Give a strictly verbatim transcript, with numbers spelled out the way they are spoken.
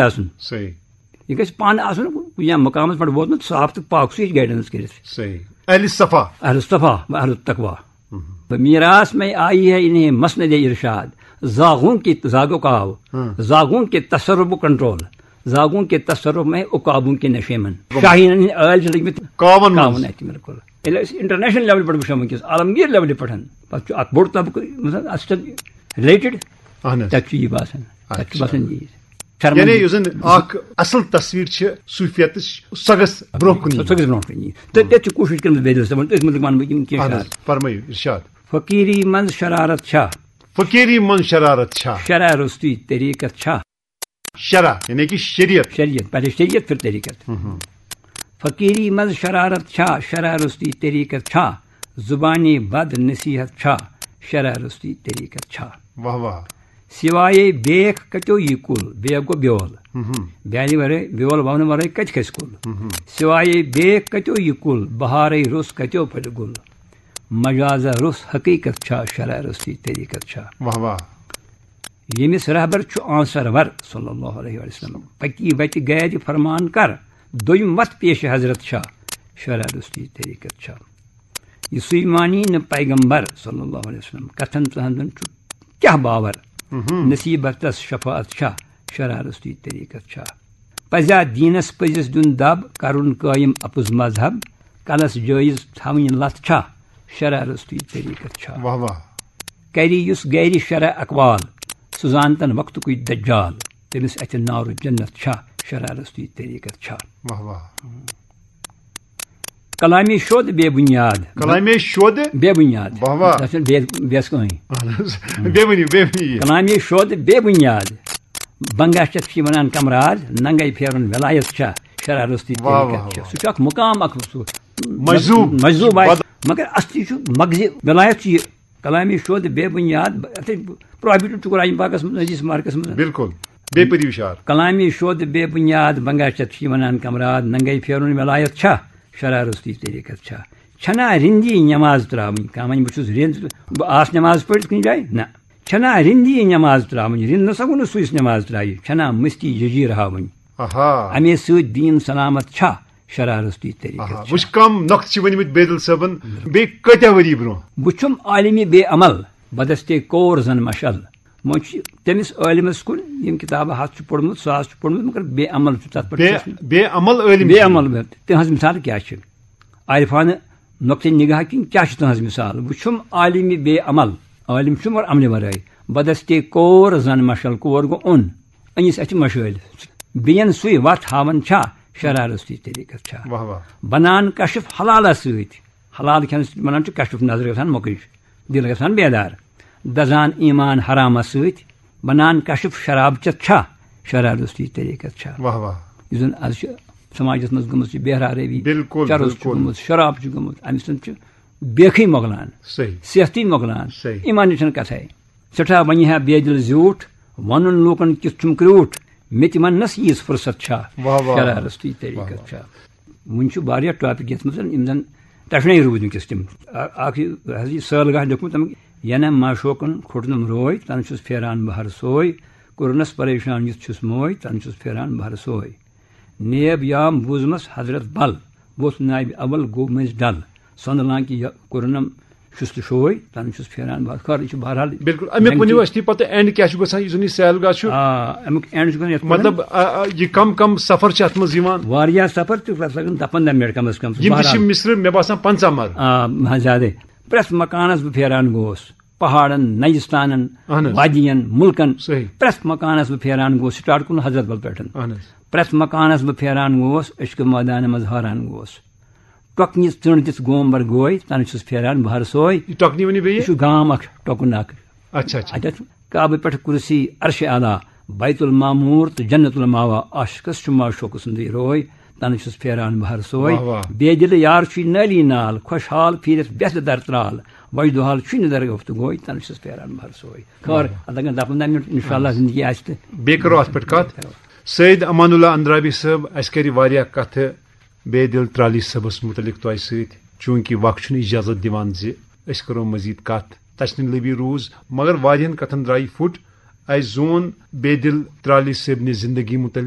آسُن۔ صحیح۔ یہِ گژھِ پانہٕ آسُن کُنہِ مقامس پٮ۪ٹھ ووتمُت، صاف تہٕ پاک، سُہ ہیٚکہِ گایڈنس کٔرِتھ۔ صحیح۔ اہل صفا۔ اہل صفا و اہل تقوا۔ تو میراث میں آئی ہے انہیں مسند ارشاد، زاغوں کی زاغ عقاب، ہاں۔ زاغوں کے تصرف و کنٹرول، زاغوں کے تصرف میں عقابوں کے نشے من۔ شاہینن ہٕنٛدۍ ٲلۍ چھِ لٔگمٕتۍ کاوَن منٛز۔ کاوَن اَتہِ، بِلکُل۔ ییٚلہِ أسۍ انٹرنیشنل لیولہِ پٮ۪ٹھ وٕچھو وٕنکیٚس، عالمگیر لیولہِ پٮ۪ٹھ، پتہٕ چھُ اکھ بوٚڑ طبقہٕ، مثلاً، اَتھ سۭتۍ رِلیٹڈ، اہن حظ۔ تَتہِ چھُ یہِ باسان، تَتہِ چھُ اچھا۔ باسان یی۔ شرمندگی۔ یعنی یُس زن اکھ اصل تصویر چھِ صوفیتٕچ، سۄ گٔژھ برونٛہہ کُن یِنۍ۔ سۄ گٔژھ برونٛہہ کُن یِنۍ۔ تہٕ تَتہِ چھُ کوٗشِش کٔرمٕژ بیدل صٲبن، أتھۍ مُتعلِق وَنہٕ بہٕ یِم کینٛہہ اہن شعر۔ حظ، فرمٲیِو، ارشاد۔ فقیری منٛز شرارت چھا، فقیری منٛز شرارت چھا؟ شرع روٚستُے طریٖقت چھا؟ شرع یعنی کہ شریعت۔ شریعت، پہلے شریعت پھر طریقت۔ فقیری منٛز شرارت چھا، شرع روٚستُے طریقت چھا؟ زبانی بد نصیحت چھا، شرع روٚستُے طریقت چھا؟ واہ واہ۔ سوائے بیکھ کتیو یہِ کُل، بیکھ گوٚو بیول۔ بیالہِ ورٲے، بیول وونہٕ ورٲے کتہِ کھسہِ کُل؟ سوائے بیکھ کتیو یہِ کُل، بہارے روٚس کتیو پھلہِ گُل؟ مجازہ روٚس حقیقت چھا، شرع روٚستُے طریقت چھا؟ واہ واہ۔ ییٚمِس رہبر چھُ آن سرور صلی اللہ علیہ وسلم، پکی وتہِ گرِ فرمان کر، دوٚیِم وتھ پیش حضرت چھا، شرع روٚستُے طریقت چھا؟ یہِ سُے مانی نہٕ پیغمبر صلی اللہ علیہ وسلم، کتھن تہنٛدن چھُ کیاہ باور؟ نصیبتس شفاعت چھا، شرع روٚستُے طریقت چھا؟ پزیا دیٖنس پٔزِس دیُن دب، کرُن قٲیِم اپُز مذہب، کلس جٲیز تھاوٕنۍ لتھ چھا، شرع روٚستُے طریقت چھا؟ واہ واہ۔ کری یُس گرِ شرع اقوال، سُہ زانتن وقتُکُے دجال، تٔمِس اتھِ نارُ جنت چھا، شرع روٚستُے طریقت چھا؟ واہ واہ۔ کلامی شود بے بنیاد۔ کلامی شود۔ بے بنیاد۔ واہ واہ۔ تتھ چھُنہٕ بے، بیس کٕہٕنۍ۔ اہن حظ۔ بیٚیہِ ؤنِو، بیٚیہِ ؤنِو یہِ۔ کلامی شود بے بنیاد۔ بنگا چتھ چھِ ونان کمراد، ننگے پھیرُن ولایت چھا، شرع روٚستُے واہ، طریقت واہ، چھا۔ واہ۔ سُہ چھُ اکھ مقام اکھ، سُہ مجذوب۔ مجذوب آسہِ، بد- مگر اصلی چھُ مغزِ ولایت چھُ یہِ۔ کلامی شود بے بنیاد، اتھے پروہیبٹڈ چھُ قرآن پاکس منٛز، حدیث مبارکس منٛز۔ بالکل۔ بیٚیہِ پٔرِو شعر۔ کلامی شود بے بنیاد، بنگا چتھ چھِ ونان کمراد، ننگے پھیرُن ولایت چھا، شرع روٚستُے طریقت چھا؟ چھنا رندی نماز تراوٕنۍ؟ کانٛہہ ونہِ بہٕ چھُس رند، بہٕ آس نماز پٔرِتھ کُنہِ جایہِ؟ نہ۔ چھنا رندی نماز تراوٕنۍ؟ رند نہ سا گوٚو نہٕ سُہ یُس نماز ترایہِ۔ چھنا مستی ججیر ہاوٕنۍ؟ آہا۔ امے سۭتۍ دیٖن سلامت چھا، شرع روٚستُے طریقت آہا۔ چھا؟ وٕچھ کم نۄقطہٕ چھِ ؤنمٕتۍ بیدل صٲبن بیٚیہِ کۭتیاہ ؤری برونٛہہ۔ بہٕ چھُم عالمِ بے عمل، بدستِ کور زن مشعل۔ وۄنۍ چھُ تٔمِس عٲلمس کُن یِم کِتابہٕ ہتھ چھُ پوٚرمُت، ساس چھُ پوٚرمُت، مگر بے عمل چھُ تتھ پٮ۪ٹھ بے چھُس نہٕ۔ بے عمل عٲلم بے چھُ۔ عمل بے-، تِہنٛز مثال کیٛاہ چھِ؟ عارفانہٕ نۄقطہٕ نگاہ کِنۍ کیٛاہ چھِ تٕہنٛز مثال؟ وٕچھُم عالمِ بے عمل، عٲلم چھُ مگر عملہِ ورٲے۔ بدستِ کور زن مشعل، کور گوٚو اوٚن، أنِس اَتھِ مشٲلۍ۔ بیٚین سُے وتھ ہاوان چھا، شرع روٚستُے طریقت چھا؟ واہ واہ۔ بنان کشف حلالس سۭتۍ، حلال کھٮ۪نہٕ سۭتۍ بنان چھُ کشف، نظر گژھان مۄکٕج، دل گژھان بیدار۔ دزان ایمان حرامس سۭتۍ، بنان کشف شراب چتھ چھا، شرع روٚستُے طریقت چھا؟ واہ واہ۔ یُس زن از چھُ سماجس منٛز گٔمٕژ یہِ بے حرا روی، بالکل، چرس چھُ بالکل۔ گوٚمُت، شراب چھُ گوٚمُت، امہِ سۭتۍ چھُ بیکھٕے مۄکلان، صحیح۔ صحتٕے مۄکلان، صحیح۔ ایمانٕچ چھنہٕ کتھے۔ سٮ۪ٹھاہ ونہِ ہا بے دل زیوٗٹھ، ونُن لوٗکن کیُتھ چھُم کریوٗٹھ، مےٚ تہِ وننس ییٖژ فرصت چھا، واہ واہ۔ شرع روٚستُے طریقت واہ واہ۔ چھا؟ وُنہِ چھُ واریاہ ٹاپک یتھ منٛز یِم زن ٹچنٕے روٗدۍ وٕنکیٚس تِم۔ اَ-، اکھ یہِ حظ یہِ سٲل گاہ لیوٚکھمُت تِم، ینہ معشوقن کھوٚٹنم روے، تن چھُس پھیران بہر سوے، کوٚرنس پریشان یُتھ چھُس موے، تن چھُس پھیران بہر سوے۔ نیب یام بوٗزمس حضرت بل، ووٚتھ نابِ اول گوٚو مٔنٛزۍ ڈل، سۄندٕ لانکہِ یہِ کوٚرنم شُست شوے، تن چھُس پھیران بہر، خٲر، یہِ چھُ بہرحال۔ بالکل، امیُک ؤنِو اَسہِ تُہۍ پتہٕ اینڈ کیٛاہ چھُ گژھان، یُس زن یہِ سیل گاہ چھُ؟ آ، امیُک اینڈ چھُ گژھان یتھ پٲٹھۍ۔ مطلب، آ، آ، یہِ کم کم سفر چھِ اتھ منٛز یِوان؟ واریاہ سفر تہِ، لگ بھگ دَپن دَہ منٹ کم از کم۔ یِم تہِ چھِ بہرحال۔ مصرٕ، مےٚ باسان، پنٛژاہ مرٕ۔ آ، ہاں، زیادے۔ پرٛٮ۪تھ مکانس بہٕ پھیران گوس، پہاڑن، نجستانن، اہن حظ۔ وادین، ملکن۔ صحیح۔ پرٛٮ۪تھ مکانس بہٕ پھیران گوس، سٹارٹ کوٚرُن حضرت بل پٮ۪ٹھ۔ اہن حظ۔ پرٛٮ۪تھ مکانس بہٕ پھیران گوس، عشق مٲدانہِ منٛز حٲران گوس۔ ٹۄکنہِ ژٔنٛڈ دِتھ گوم بر گوے، تنہٕ چھُس پھیران بہر سوے۔ یہِ ٹۄکنہِ ؤنِو بیٚیہِ؟ یہِ چھُ گام اکھ، ٹۄکُن اکھ۔ اچھا، اچھا۔ اتٮ۪تھ کعبہٕ پٮ۪ٹھ کرسی عرش اعلیٰ، بیت المعمور تہٕ جنت الماوا، عاشقس چھُ معشوق سُنٛدٕے روے، تنہٕ چھُس پھیران بہر سوے۔ واہ، واہ۔ بے دِلہٕ یار چھُے نٲلی نال، خۄشحال پھیٖرِتھ بٮ۪تھ در ترال، وجدٕ حال چھُے نہٕ درگفتہٕ گوے، تنہٕ چھُس پھیران بہر سوے۔ خٲر، اتھ لگن دَہ پنٛداہ منٹ، انشاءاللہ زندگی آسہِ تہٕ۔ بیٚیہِ کرو اتھ پٮ۪ٹھ کتھ۔ سید امان اللہ اندرابی صٲب، اسہِ کرِ واریاہ کتھٕ بے دل ترالی صٲبس متعلق تۄہہِ سۭتۍ، چوٗنٛکہِ وقت چھُنہٕ اجازت دِوان زِ أسۍ کرو مزید کتھ۔ تچنہٕ لبی روٗز، مگر واریاہن کتھن درٛایہِ پھُٹ۔ اسہِ زون بیدل ترالی صٲبنہِ زندگی متعلق۔